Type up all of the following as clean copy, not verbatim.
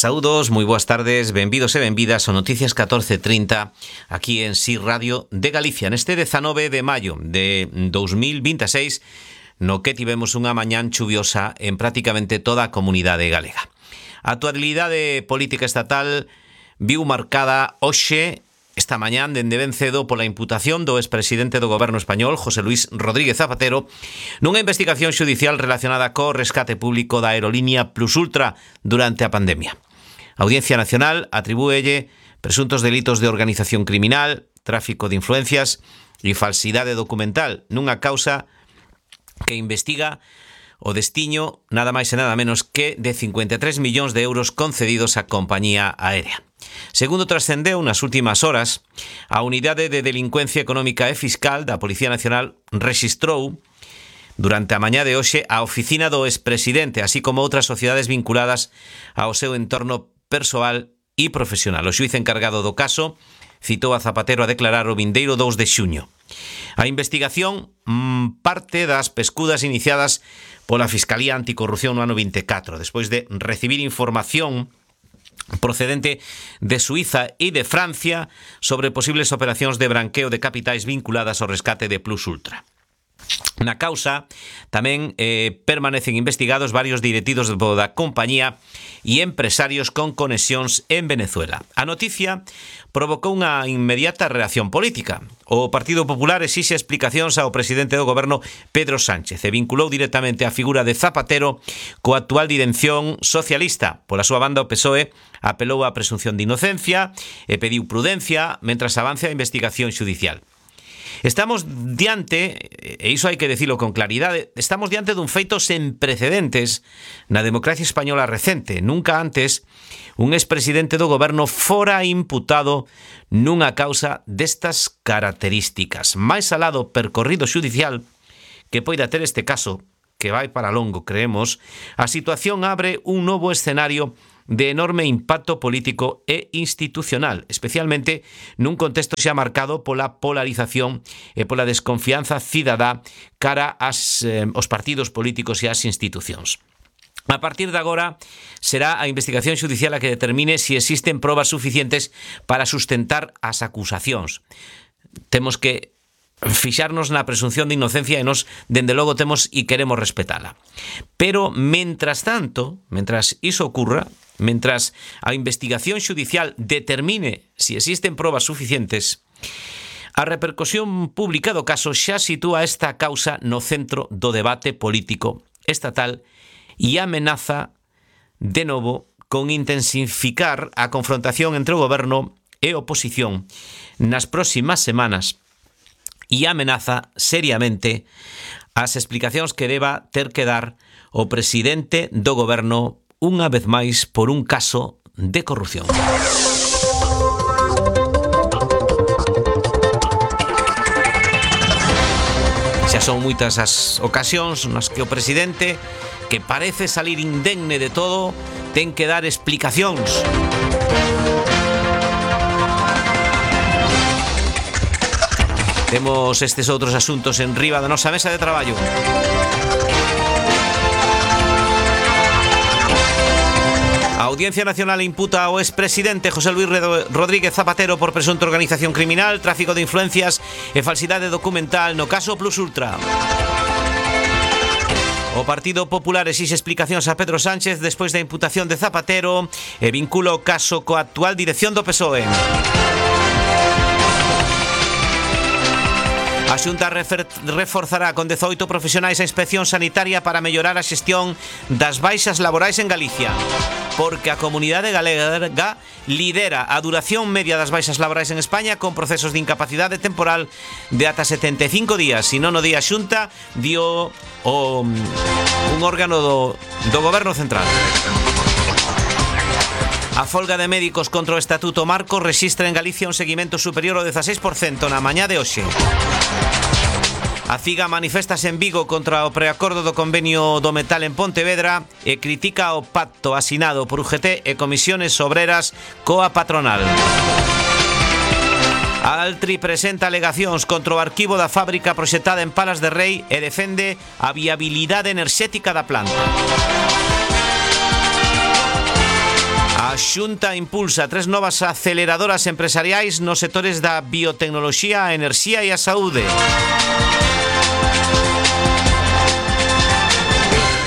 Saúdos, moi boas tardes, benvidos e benvidas ao Noticias 1430 aquí en SIR Radio de Galicia neste 19 de maio de 2026, no que tivemos unha mañán chuviosa en prácticamente toda a comunidade galega. A actualidade política estatal viu marcada hoxe, esta mañán, dende ben cedo, pola imputación do expresidente do goberno español, José Luis Rodríguez Zapatero, nunha investigación xudicial relacionada co rescate público da aerolínea Plus Ultra durante a pandemia. A Audiencia Nacional atribúelle presuntos delitos de organización criminal, tráfico de influencias e falsidade documental nunha causa que investiga o destiño nada máis e nada menos que de 53 millóns de euros concedidos á compañía aérea. Segundo trascendeu nas últimas horas, a Unidade de Delincuencia Económica e Fiscal da Policía Nacional rexistrou durante a mañá de hoxe a oficina do expresidente, así como outras sociedades vinculadas ao seu entorno persoal e profesional. O xuíz encargado do caso citou a Zapatero a declarar o vindeiro 2 de xuño. A investigación parte das pescudas iniciadas pola Fiscalía Anticorrupción no ano 24, despois de recibir información procedente de Suiza e de Francia sobre posibles operacións de branqueo de capitais vinculadas ao rescate de Plus Ultra. Na causa tamén permanecen investigados varios directivos da compañía e empresarios con conexións en Venezuela. A noticia provocou unha inmediata reacción política. O Partido Popular exixe explicacións ao presidente do goberno Pedro Sánchez e vinculou directamente a figura de Zapatero coa actual dirección socialista. Pola súa banda, o PSOE apelou á presunción de inocencia e pediu prudencia mentras avance a investigación xudicial. Estamos diante, e iso hai que dicilo con claridade, estamos diante dun feito sen precedentes na democracia española recente. Nunca antes un expresidente do goberno fora imputado nunha causa destas características. Mais alá do percorrido xudicial que poida ter este caso, que vai para longo, creemos, a situación abre un novo escenario de enorme impacto político e institucional, especialmente nun contexto xa marcado pola polarización e pola desconfianza cidadá cara aos partidos políticos e ás institucións. A partir de agora será a investigación xudicial a que determine se existen probas suficientes para sustentar as acusacións. Temos que fixarnos na presunción de inocencia e nos, dende logo, temos e queremos respetala. Pero, mentras tanto, mentras iso ocurra, mentras a investigación xudicial determine se existen probas suficientes, a repercusión pública do caso xa sitúa esta causa no centro do debate político estatal e amenaza, de novo, con intensificar a confrontación entre o goberno e a oposición nas próximas semanas e amenaza seriamente as explicacións que deba ter que dar o presidente do goberno unha vez máis por un caso de corrupción. Xa son moitas as ocasións nas que o presidente, que parece salir indemne de todo, ten que dar explicacións. Temos estes outros asuntos en riba da nosa mesa de traballo. A Audiencia Nacional imputa ao expresidente José Luis Rodríguez Zapatero por presunta organización criminal, tráfico de influencias e falsidade documental no caso Plus Ultra. O Partido Popular exixe explicacións a Pedro Sánchez despois da imputación de Zapatero e vincula o caso coa actual dirección do PSOE. A Xunta reforzará con 18 profesionais a inspección sanitaria para mellorar a xestión das baixas laborais en Galicia, porque a comunidade galega lidera a duración media das baixas laborais en España con procesos de incapacidade temporal de ata 75 días, e non o di a Xunta, dio un órgano do Goberno Central. A folga de médicos contra o Estatuto Marco rexistra en Galicia un seguimento superior ao 16% na mañá de hoxe. A CIGA manifestase en Vigo contra o preacordo do convenio do metal en Pontevedra e critica o pacto asinado por UGT e comisiones obreras coa patronal. A Altri presenta alegacións contra o arquivo da fábrica proxectada en Palas de Rei e defende a viabilidade enerxética da planta. A Xunta impulsa 3 novas aceleradoras empresariais nos sectores da biotecnoloxía, a enerxía e a saúde.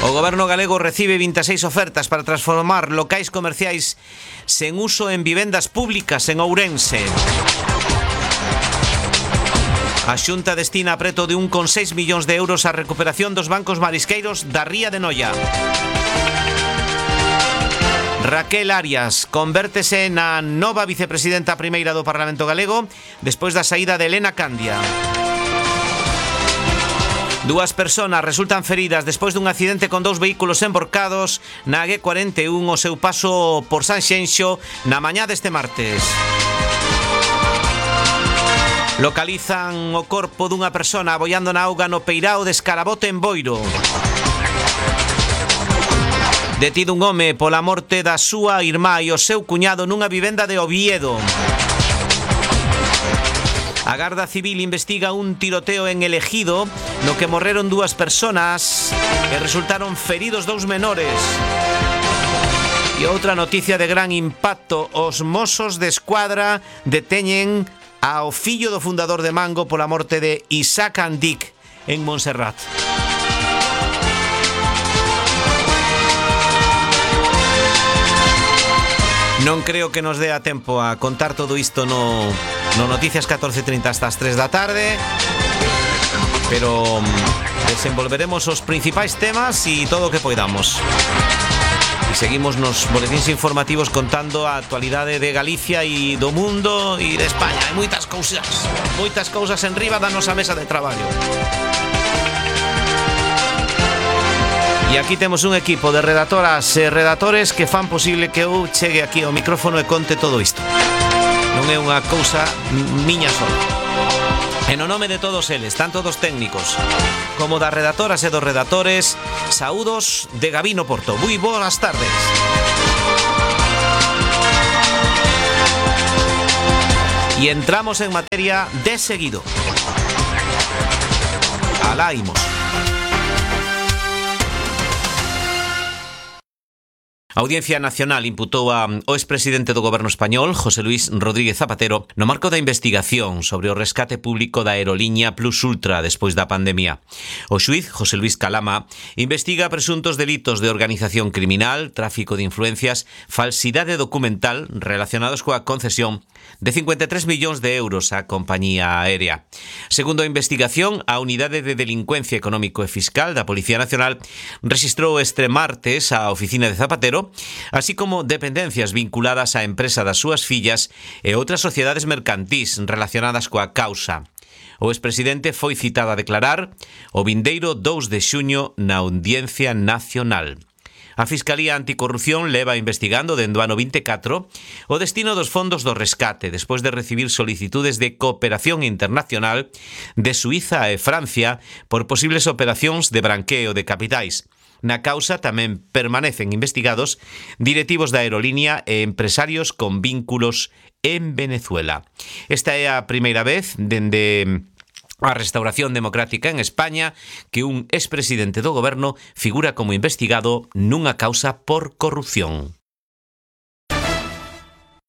O goberno galego recibe 26 ofertas para transformar locais comerciais sen uso en vivendas públicas en Ourense. A Xunta destina preto de 1,6 millóns de euros á recuperación dos bancos marisqueiros da Ría de Noia. Raquel Arias convértese na nova vicepresidenta primeira do Parlamento Galego despois da saída de Elena Candia. 2 persoas resultan feridas despois dun accidente con 2 vehículos emborcados na A41 o seu paso por Sanxenxo na mañá deste martes. Localizan o corpo dunha persona aboiando na auga no peirao de Escarabote en Boiro. Detido un home pola morte da súa irmá e o seu cuñado nunha vivenda de Oviedo. A Garda Civil investiga un tiroteo en El Ejido no que morreron 2 persoas e resultaron feridos 2 menores. E outra noticia de gran impacto: os Mossos de Escuadra deteñen ao fillo do fundador de Mango pola morte de Isaac Andic en Montserrat. Non creo que nos dé a tempo a contar todo isto no Noticias 14:30 hasta as 3 da tarde, pero desenvolveremos os principais temas e todo o que poidamos. E seguimos nos boletíns informativos contando a actualidade de Galicia e do mundo e de España. Hai moitas cousas en riba da nosa mesa de traballo. E aquí temos un equipo de redactoras e redactores que fan posible que eu chegue aquí ao micrófono e conte todo isto. Non é unha cousa miña sola. En o nome de todos eles, tanto dos técnicos como das redactoras e dos redactores, saúdos de Gabino Porto. Moi boas tardes. E entramos en materia de seguido. Alá imos. A Audiencia Nacional imputou ao expresidente do Goberno español, José Luis Rodríguez Zapatero, no marco da investigación sobre o rescate público da aeroliña Plus Ultra despois da pandemia. O xuíz, José Luis Calama, investiga presuntos delitos de organización criminal, tráfico de influencias, falsidade documental relacionados coa concesión de 53 millóns de euros á compañía aérea. Segundo a investigación, a Unidade de Delincuencia Económico e Fiscal da Policía Nacional rexistrou este martes a oficina de Zapatero, así como dependencias vinculadas á empresa das súas fillas e outras sociedades mercantís relacionadas coa causa. O expresidente foi citado a declarar o vindeiro 2 de xuño na Audiencia Nacional. A Fiscalía Anticorrupción leva investigando dende o ano 24 o destino dos fondos do rescate despois de recibir solicitudes de cooperación internacional de Suiza e Francia por posibles operacións de branqueo de capitais. Na causa tamén permanecen investigados directivos da aerolínea e empresarios con vínculos en Venezuela. Esta é a primeira vez dende a restauración democrática en España que un expresidente do goberno figura como investigado nunha causa por corrupción.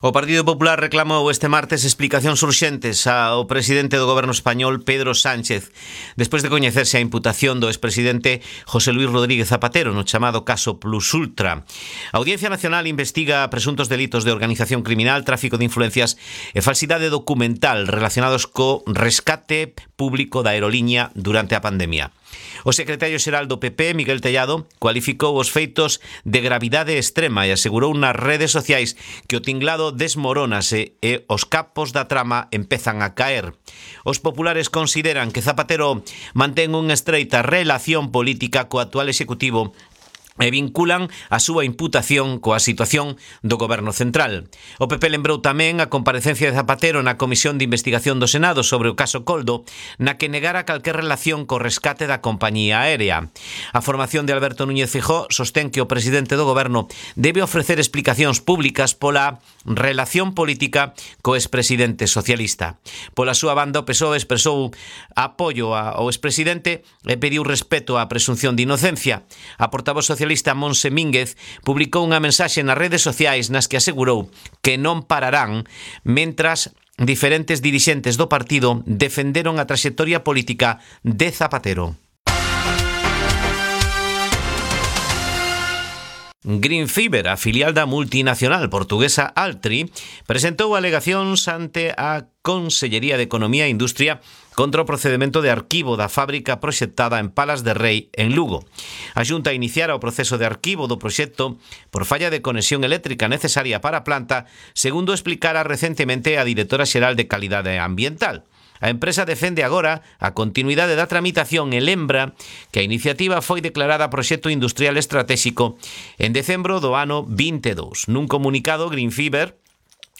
O Partido Popular reclamou este martes explicacións urxentes ao presidente do goberno español, Pedro Sánchez, despois de coñecerse a imputación do expresidente José Luis Rodríguez Zapatero no chamado caso Plus Ultra. A Audiencia Nacional investiga presuntos delitos de organización criminal, tráfico de influencias e falsidade documental relacionados co rescate público da aeroliña durante a pandemia. O secretario xeral do PP, Miguel Tellado, cualificou os feitos de gravidade extrema e asegurou nas redes sociais que o tinglado desmorónase e os capos da trama empezan a caer. Os populares consideran que Zapatero mantén unha estreita relación política co actual executivo e vinculan a súa imputación coa situación do goberno central. O PP lembrou tamén a comparecencia de Zapatero na Comisión de Investigación do Senado sobre o caso Coldo, na que negara calquer relación co rescate da compañía aérea. A formación de Alberto Núñez Feijóo sostén que o presidente do goberno debe ofrecer explicacións públicas pola relación política co expresidente socialista. Pola súa banda, o PSOE expresou apoio ao expresidente e pediu respeto á presunción de inocencia. A portavoz socialista socialista Monse Mínguez publicou unha mensaxe nas redes sociais nas que asegurou que non pararán mentras diferentes dirixentes do partido defenderon a traxectoria política de Zapatero. Greenfiber, a filial da multinacional portuguesa Altri, presentou alegacións ante a Consellería de Economía e Industria contra o procedimento de arquivo da fábrica proxectada en Palas de Rei, en Lugo. A Xunta iniciara o proceso de arquivo do proxecto por falla de conexión eléctrica necesaria para a planta, segundo explicara recentemente a directora xeral de Calidade Ambiental. A empresa defende agora a continuidade da tramitación e lembra que a iniciativa foi declarada proxecto industrial estratéxico en decembro do ano 22. Nun comunicado, Greenfiber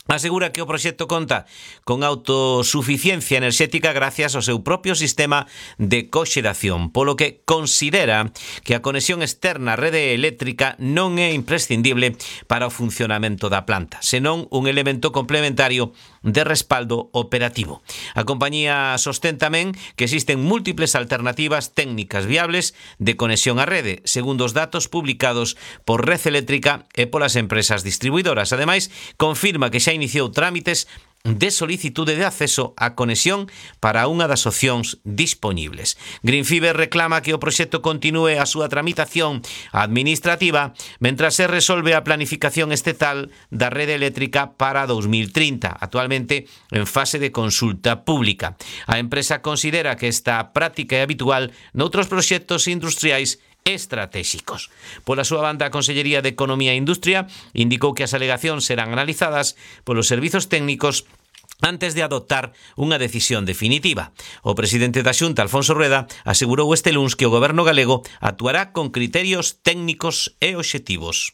asegura que o proxecto conta con autosuficiencia enerxética gracias ao seu propio sistema de coxeración, polo que considera que a conexión externa á rede eléctrica non é imprescindible para o funcionamento da planta, senón un elemento complementario de respaldo operativo. A compañía sostén tamén que existen múltiples alternativas técnicas viables de conexión á rede, segundo os datos publicados por Red Eléctrica e polas empresas distribuidoras. Ademais, confirma que xa iniciou trámites de solicitude de acceso á conexión para unha das opcións dispoñibles. Greenfiber reclama que o proxecto continúe a súa tramitación administrativa mentras se resolve a planificación estatal da rede eléctrica para 2030, actualmente en fase de consulta pública. A empresa considera que esta práctica é habitual noutros proxectos industriais estratégicos. Pola súa banda, a Consellería de Economía e Industria indicou que as alegacións serán analizadas polos servizos técnicos antes de adoptar unha decisión definitiva. O presidente da Xunta, Alfonso Rueda, asegurou este luns que o goberno galego actuará con criterios técnicos e obxectivos.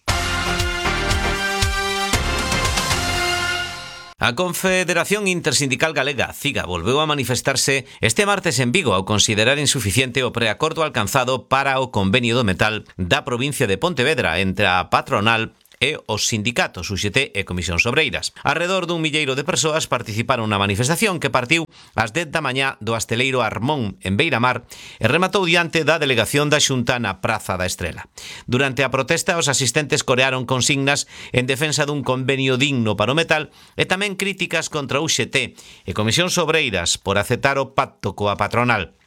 A Confederación Intersindical Galega, CIGA, volveu a manifestarse este martes en Vigo ao considerar insuficiente o preacordo alcanzado para o convenio do metal da provincia de Pontevedra entre a patronal e os sindicatos UGT e Comisións Obreiras. Arredor dun milleiro de persoas participaron na manifestación que partiu ás 10 da mañá do Asteleiro Armón en Beiramar e rematou diante da delegación da Xunta na Praza da Estrela. Durante a protesta, os asistentes corearon consignas en defensa dun convenio digno para o metal e tamén críticas contra UGT e Comisións Obreiras por aceptar o pacto coa patronal.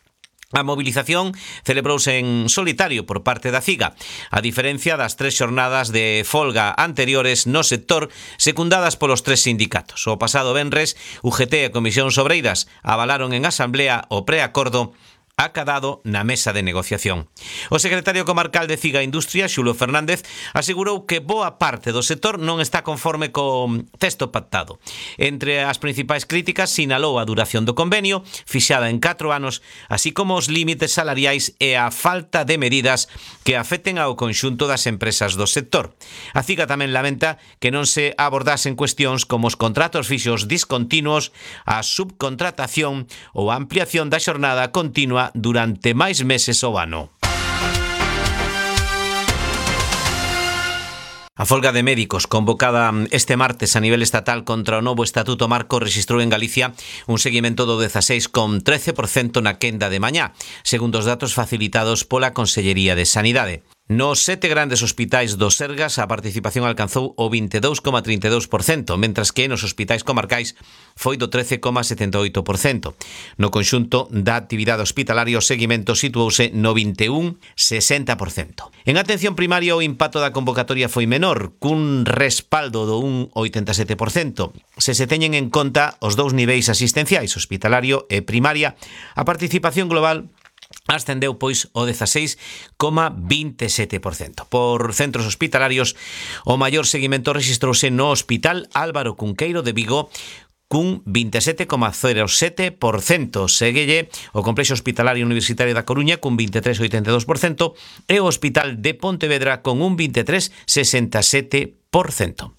A movilización celebrouse en solitario por parte da CIGA, a diferencia das 3 xornadas de folga anteriores no sector secundadas polos 3 sindicatos. O pasado venres, UGT e Comisións Obreiras avalaron en asamblea o preacordo acadado na mesa de negociación. O secretario comarcal de CIGA Industria, Xulo Fernández, asegurou que boa parte do sector non está conforme co texto pactado. Entre as principais críticas, sinalou a duración do convenio, fixada en 4 anos, así como os límites salariais e a falta de medidas que afecten ao conxunto das empresas do sector. A CIGA tamén lamenta que non se abordasen cuestións como os contratos fixos discontinuos, a subcontratación ou a ampliación da xornada continua durante máis meses ao ano. A folga de médicos convocada este martes a nivel estatal contra o novo Estatuto Marco rexistrou en Galicia un seguimento do 16,13% na quenda de mañá, segundo os datos facilitados pola Consellería de Sanidade. Nos 7 grandes hospitais do Sergas a participación alcanzou o 22,32%, mentras que nos hospitais comarcais foi do 13,78%. No conxunto da actividade hospitalaria o seguimento situouse no 21,60%. En atención primaria o impacto da convocatoria foi menor, cun respaldo do 1,87%. Se teñen en conta os dous niveis asistenciais, hospitalario e primaria, a participación global ascendeu pois o 16,27%. Por centros hospitalarios, o maior seguimento rexistrouse no Hospital Álvaro Cunqueiro de Vigo cun 27,07%. Séguelle o Complexo Hospitalario Universitario da Coruña cun 23,82% e o Hospital de Pontevedra con un 23,67%.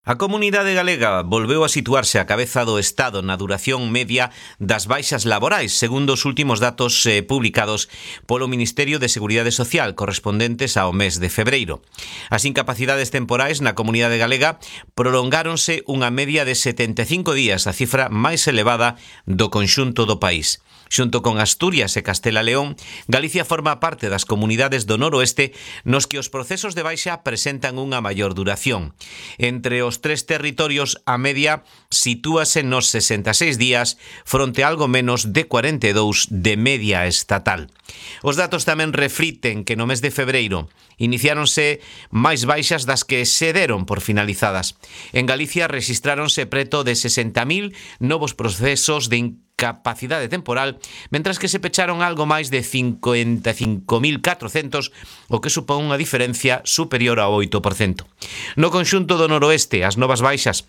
A comunidade galega volveu a situarse a cabeza do Estado na duración media das baixas laborais, segundo os últimos datos publicados polo Ministerio de Seguridade Social correspondentes ao mes de febreiro. As incapacidades temporais na comunidade galega prolongáronse unha media de 75 días, a cifra máis elevada do conxunto do país. Xunto con Asturias e Castela León, Galicia forma parte das comunidades do noroeste nos que os procesos de baixa presentan unha maior duración. Entre os tres territorios, a media sitúase nos 66 días fronte a algo menos de 42 de media estatal. Os datos tamén refliten que no mes de febreiro iniciáronse máis baixas das que se deron por finalizadas. En Galicia rexistráronse preto de 60.000 novos procesos de incapacidade temporal, mentras que se pecharon algo máis de 55.400, o que supón unha diferencia superior ao 8%. No conxunto do noroeste, as novas baixas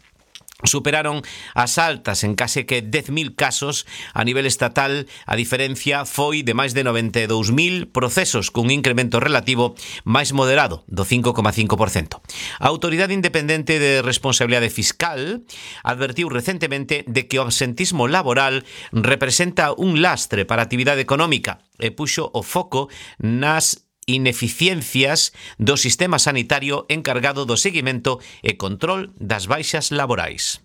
superaron as altas en case que 10.000 casos. A nivel estatal, a diferencia foi de máis de 92.000 procesos, cun incremento relativo máis moderado do 5,5%. A Autoridade Independente de Responsabilidade Fiscal advertiu recentemente de que o absentismo laboral representa un lastre para a actividade económica e puxo o foco nas ineficiencias do sistema sanitario encargado do seguimento e control das baixas laborais.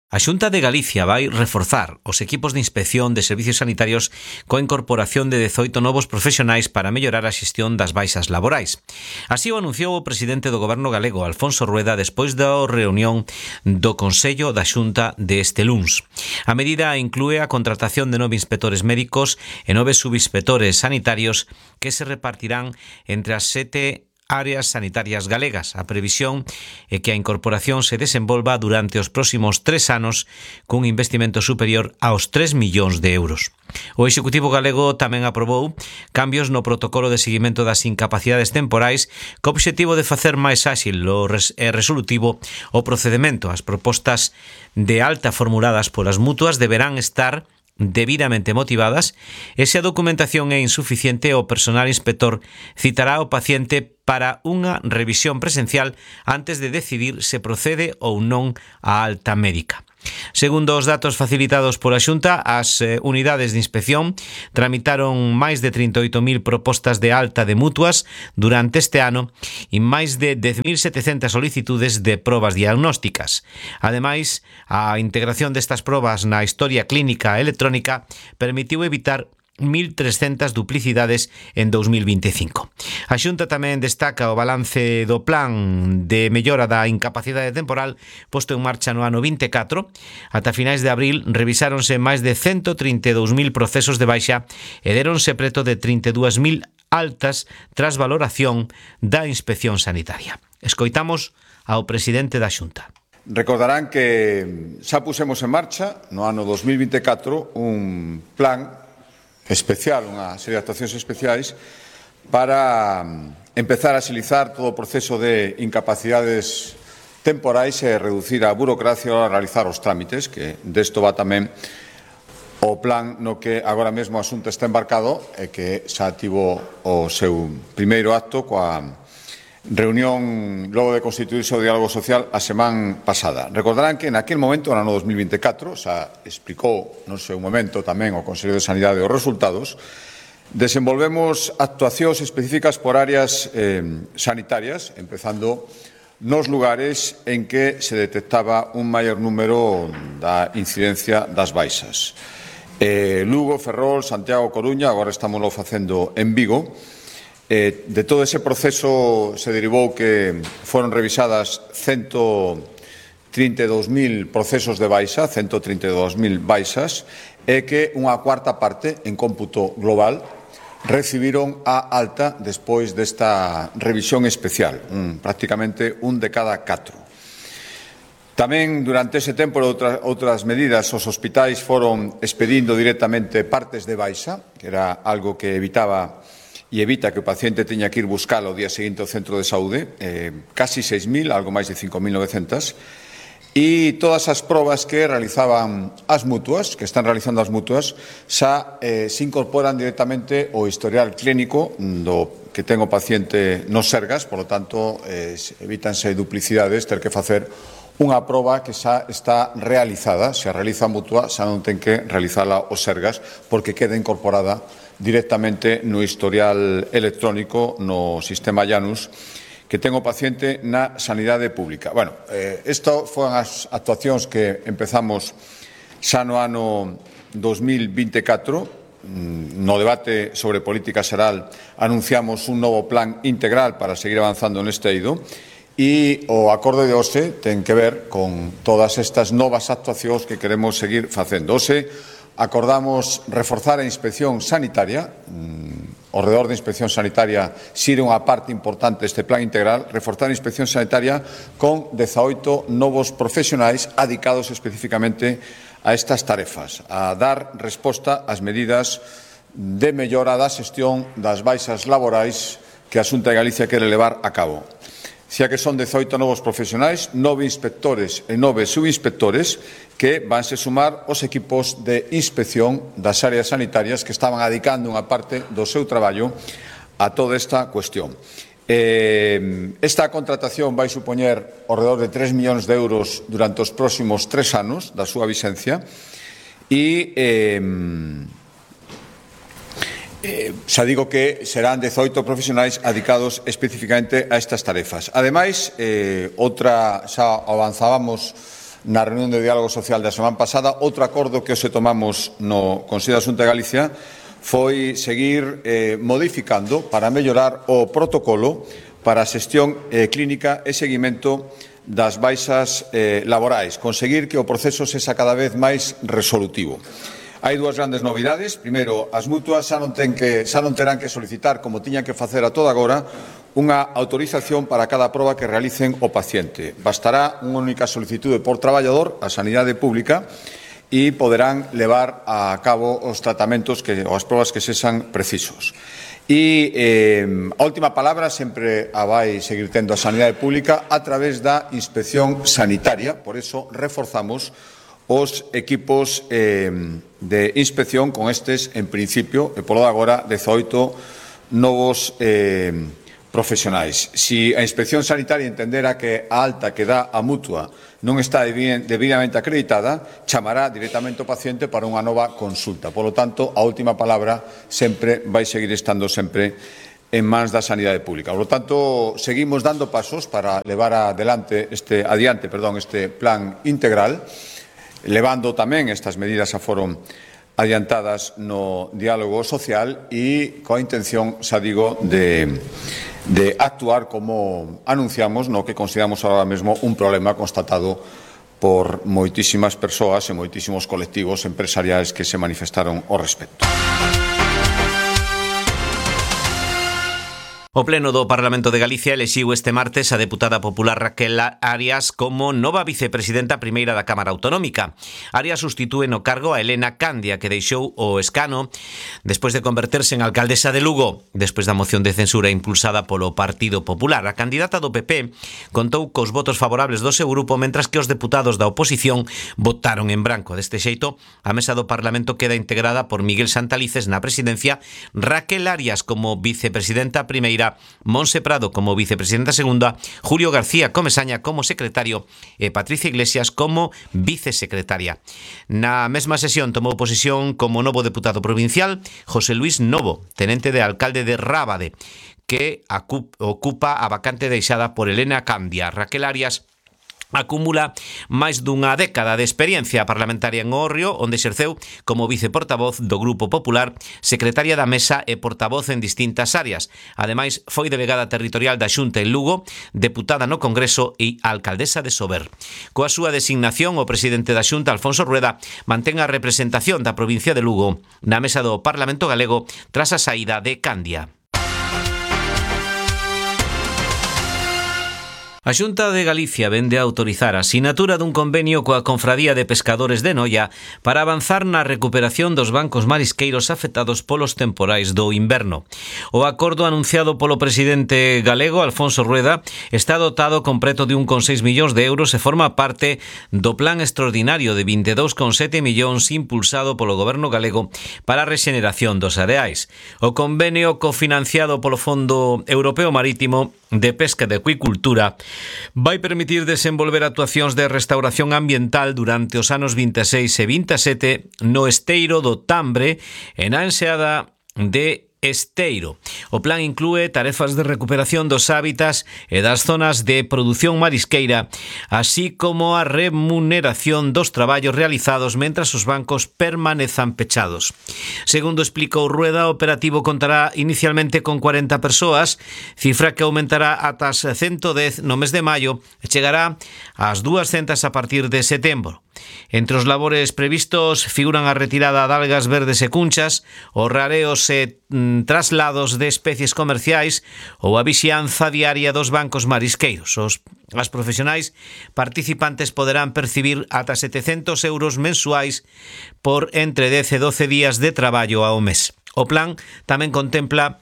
A Xunta de Galicia vai reforzar os equipos de inspección de servicios sanitarios coa incorporación de 18 novos profesionais para mellorar a xestión das baixas laborais. Así o anunciou o presidente do Goberno galego, Alfonso Rueda, despois da reunión do Consello da Xunta deste luns. A medida inclúe a contratación de 9 inspectores médicos e 9 subinspectores sanitarios que se repartirán entre as 7 áreas sanitarias galegas. A previsión é que a incorporación se desenvolva durante os próximos 3 anos cun investimento superior aos 3 millóns de euros. O Executivo galego tamén aprobou cambios no protocolo de seguimento das incapacidades temporais co obxectivo de facer máis áxil e resolutivo o procedemento. As propostas de alta formuladas polas mutuas deberán estar debidamente motivadas e se a documentación é insuficiente, o personal inspector citará ao paciente para unha revisión presencial antes de decidir se procede ou non a alta médica. Segundo os datos facilitados pola Xunta, as unidades de inspección tramitaron máis de 38.000 propostas de alta de mutuas durante este ano e máis de 10.700 solicitudes de probas diagnósticas. Ademais, a integración destas probas na historia clínica electrónica permitiu evitar 1.300 duplicidades en 2025. A Xunta tamén destaca o balance do plan de mellora da incapacidade temporal posto en marcha no ano 24. Ata finais de abril revisáronse máis de 132.000 procesos de baixa e deronse preto de 32.000 altas tras valoración da inspección sanitaria. Escoitamos ao presidente da Xunta. Recordarán que xa pusemos en marcha no ano 2024 un plan especial, unha serie de actuacións especiais para empezar a axilizar todo o proceso de incapacidades temporais e reducir a burocracia a realizar os trámites, que desto va tamén o plan no que agora mesmo o asunto está embarcado e que xa tivo o seu primeiro acto coa reunión logo de constituirse o diálogo social a semana pasada. Recordarán que naquele momento, no ano 2024, xa explicou no seu momento tamén o Consello de Sanidade os resultados, desenvolvemos actuacións específicas por áreas sanitarias, empezando nos lugares en que se detectaba un maior número da incidencia das baixas. Lugo, Ferrol, Santiago, Coruña, agora estamos facendo en Vigo. De todo ese proceso se derivou que foron revisadas 132.000 procesos de baixa, 132.000 baixas, e que unha cuarta parte, en cómputo global, recibiron a alta despois desta revisión especial, prácticamente un de cada 4. Tamén, durante ese tempo, outras medidas, os hospitais foron expedindo directamente partes de baixa, que era algo que evitaba e evita que o paciente teña que ir buscalo o día seguinte ao centro de saúde, casi 6.000, algo máis de 5.900, e todas as probas que realizaban as mutuas, que están realizando as mutuas, xa se incorporan directamente ao historial clínico que ten o paciente nos Sergas, polo tanto, evítanse duplicidades, ter que facer unha proba que xa está realizada. Se a realiza a Mutua, xa non ten que realizala o Sergas, porque queda incorporada directamente no historial electrónico no sistema Janus que ten o paciente na sanidade pública. Bueno, isto foron as actuacións que empezamos xa no ano 2024. No debate sobre política xeral anunciamos un novo plan integral para seguir avanzando neste eido e o acordo de hoxe ten que ver con todas estas novas actuacións que queremos seguir facendo. Hoxe acordamos reforzar a inspección sanitaria. Ao redor da inspección sanitaria sirve unha parte importante deste plan integral, reforzar a inspección sanitaria con 18 novos profesionais adicados especificamente a estas tarefas, a dar resposta ás medidas de mellora da xestión das baixas laborais que a Xunta de Galicia quere levar a cabo. Xa que son 18 novos profesionais, 9 inspectores e 9 subinspectores que vanse sumar os equipos de inspección das áreas sanitarias que estaban adicando unha parte do seu traballo a toda esta cuestión. Esta contratación vai supoñer ao redor de 3 millóns de euros durante os próximos 3 anos da súa vixencia e xa digo que serán 18 profesionais adicados especificamente a estas tarefas. Ademais, xa avanzábamos na reunión de diálogo social da semana pasada, outro acordo que hoxe tomamos no Consello da Xunta de Galicia foi seguir modificando para mellorar o protocolo para a xestión clínica e seguimento das baixas laborais, conseguir que o proceso sexa cada vez máis resolutivo. Hai dúas grandes novidades. Primeiro, as mutuas xa non terán que solicitar, como tiñan que facer a toda agora, unha autorización para cada proba que realicen o paciente. Bastará unha única solicitude por traballador á sanidade pública e poderán levar a cabo os tratamentos ou as probas que sexan precisos. E a última palabra sempre a vai seguir tendo a sanidade pública a través da inspección sanitaria. Por eso reforzamos os equipos de inspección con estes, en principio, e polo de agora, 18 novos profesionais. Si a inspección sanitaria entendera que a alta que dá a Mutua non está debidamente acreditada, chamará directamente o paciente para unha nova consulta. Por lo tanto, a última palabra sempre vai seguir estando sempre en mans da sanidade pública. Por lo tanto, seguimos dando pasos para levar adiante este plan integral, levando tamén estas medidas a foron adiantadas no diálogo social e coa intención, xa digo, de actuar como anunciamos no que consideramos ahora mesmo un problema constatado por moitísimas persoas e moitísimos colectivos empresariais que se manifestaron ao respecto. O Pleno do Parlamento de Galicia elixiu este martes a deputada popular Raquel Arias como nova vicepresidenta primeira da Cámara Autonómica. Arias sustitúe no cargo a Elena Candia, que deixou o escano despois de converterse en alcaldesa de Lugo, despois da moción de censura impulsada polo Partido Popular. A candidata do PP contou cos votos favorables do seu grupo, mentras que os deputados da oposición votaron en branco. Deste xeito, a mesa do Parlamento queda integrada por Miguel Santalices na presidencia, Raquel Arias como vicepresidenta primeira, Monse Prado como vicepresidenta segunda, Julio García Comesaña como secretario e Patricia Iglesias como vicesecretaria. Na mesma sesión tomou posesión como novo deputado provincial José Luis Novo, tenente de alcalde de Rábade, que ocupa a vacante deixada por Elena Candia. Raquel Arias acumula máis dunha década de experiencia parlamentaria en Orrio, onde exerceu como viceportavoz do Grupo Popular, secretaria da Mesa e portavoz en distintas áreas. Ademais, foi delegada territorial da Xunta en Lugo, deputada no Congreso e alcaldesa de Sober. Coa súa designación, o presidente da Xunta, Alfonso Rueda, mantén a representación da provincia de Lugo na mesa do Parlamento Galego tras a saída de Candia. A Xunta de Galicia vende a autorizar a sinatura dun convenio coa Confradía de Pescadores de Noia para avanzar na recuperación dos bancos marisqueiros afectados polos temporais do inverno. O acordo anunciado polo presidente galego, Alfonso Rueda, está dotado con preto de 1,6 millóns de euros e forma parte do plan extraordinario de 22,7 millóns impulsado polo goberno galego para a rexeneración dos areais. O convenio cofinanciado polo Fondo Europeo Marítimo de Pesca e de Acuicultura vai permitir desenvolver actuacións de restauración ambiental durante os anos 26 e 27 no esteiro do Tambre e na enseada de Esteiro. O plan inclúe tarefas de recuperación dos hábitats e das zonas de produción marisqueira, así como a remuneración dos traballos realizados mentras os bancos permanezan pechados. Segundo explicou Rueda, o operativo contará inicialmente con 40 persoas, cifra que aumentará ata as 110 no mes de maio e chegará ás 200 a partir de setembro. Entre os labores previstos figuran a retirada de algas verdes e cunchas, os rareos e traslados de especies comerciais ou a vixianza diaria dos bancos marisqueiros. As profesionais participantes poderán percibir ata 700 euros mensuais por entre 10 e 12 días de traballo ao mes. O plan tamén contempla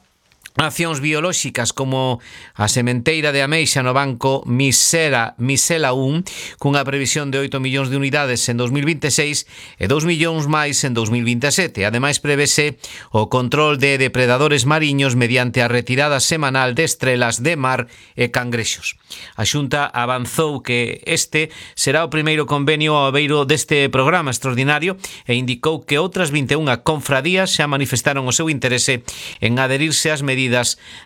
accións biolóxicas como a sementeira de ameixa no banco Misela 1, cunha previsión de 8 millóns de unidades en 2026 e 2 millóns máis en 2027. Ademais, prevese o control de depredadores mariños mediante a retirada semanal de estrelas de mar e cangrexos. A Xunta avanzou que este será o primeiro convenio ao abeiro deste programa extraordinario e indicou que outras 21 confradías xa manifestaron o seu interese en adherirse ás medidas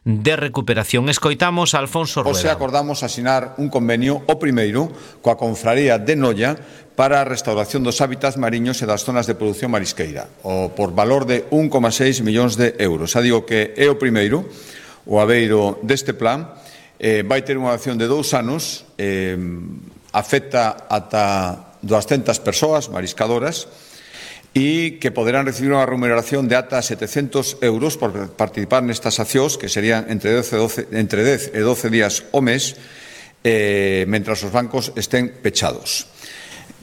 de recuperación. Escoitamos a Alfonso Rueda. Hoxe acordamos asinar un convenio, o primeiro, coa Confraría de Noia para a restauración dos hábitats mariños e das zonas de produción marisqueira, por valor de 1,6 millóns de euros. Xa digo que é o primeiro, o abeiro deste plan, vai ter unha acción de 2 anos, afecta ata 200 persoas mariscadoras, e que poderán recibir unha remuneración de ata 700 euros por participar nestas accións, que serían entre 10 e 12 días ao mes, mentras os bancos estén pechados.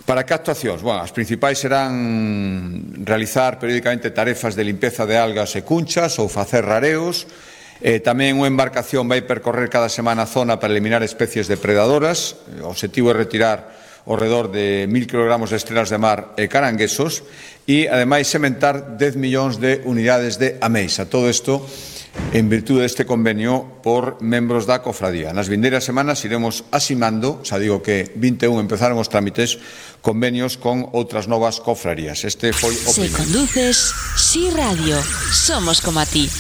Para que actuacións? Bueno, as principais serán realizar periódicamente tarefas de limpeza de algas e cunchas ou facer rareos. Tamén unha embarcación vai percorrer cada semana a zona para eliminar especies depredadoras. O obxectivo é retirar ao redor de 1.000 kilogramos de estrelas de mar e caranguesos e, ademais, sementar 10 millóns de unidades de ameixa. Todo isto en virtude deste convenio por membros da cofradía. Nas vindeiras semanas iremos asinando, xa digo que 21 empezaron os trámites, convenios con outras novas cofrarías. Este foi o primeiro. Se conduces, Si Radio, somos como a ti.